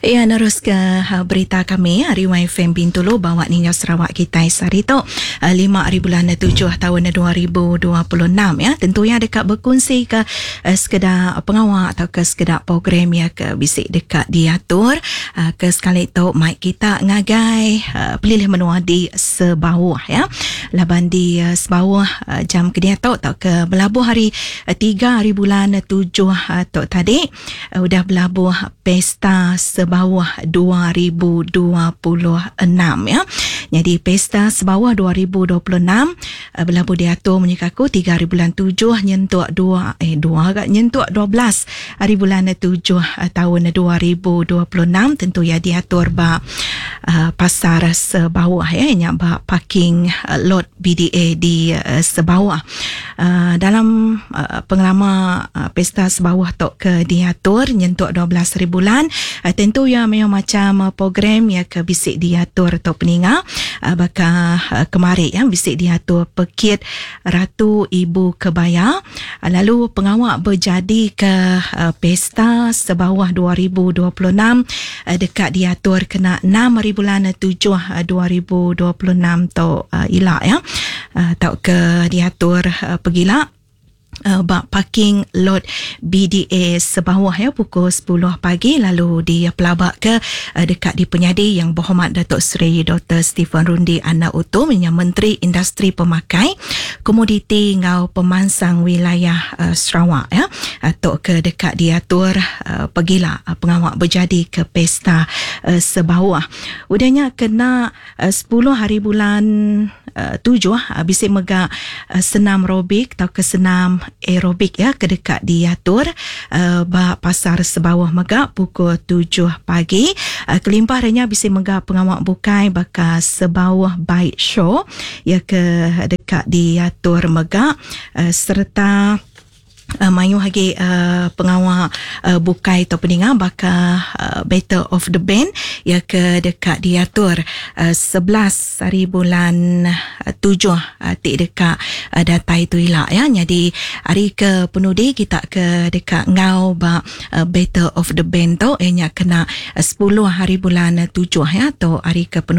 Iya neruska berita kami ari YFM Bintulu bawa ninga Sarawak kitai sehari tu 5 hari bulan 7 taun 2026 ya. Tentu iya deka bekunsi ke sekeda pengawa atau ke sekeda program ya ke bisi deka diatur ke sekali tu mai kita ngagai pelilih menua di Sebauh ya. Laban di Sebauh jam ke diatu tau ke belabuh hari 3 hari bulan 7 tu tadi udah belabuh Pesta Sebauh 2026 ya. Jadi Pesta Sebauh 2026 belabuh diatur munyi ke aku 3 hari bulan 7 nyentuk 2 eh 2 ga nyentuk 12 hari bulan 7 taun 2026 tentu ya diatur ba pasar Sebauh ya nya ba parking lot BDA di Sebauh. Dalam pengelama Pesta Sebauh tu ke diatur nyentuk 12 hari bulan, tentu iya mayuh macham program iya ke bisi diatur tu peninga baka kemari iya bisi diatur Pekit Ratu Ibu Kebaya lalu pengawa bejadika Pesta Sebauh 2026 deka diatur kena 6 hari bulan 7 2026 tu ila ya tauka diatur pegila ba parking lot BDA Sebauh ya pukul 10 pagi lalu dipelabaka deka dipenyadi Yang Berhormat Datuk Seri Dr. Stephen Rundi Anak Utom nya Menteri Industri Pemakai, Komoditi enggau Pemansang Wilayah Sarawak ya tu ke deka diatur pegila pengawa bejadi ke Pesta Sebauh. Udah nya kena 10 hari bulan 7 bisi mega senam robik tauka senam aerobik ya ke deka diatur ba pasar Sebauh mega pukul 7 pagi. Kelimpah ari nya bisi mega pengawa bukai baka Sebauh Bike Show ya ke deka diatur mega sereta mayuh agi pengawa bukai tau peninga baka Battle of the Band iya ke deka diatur 11 hari bulan 7 ti deka datai tu ila ya. Nyadi hari ke penudi kita ke deka enggau ba Battle of the Band tu iya nya kena 10 hari bulan 7 ya tu hari ke penudi.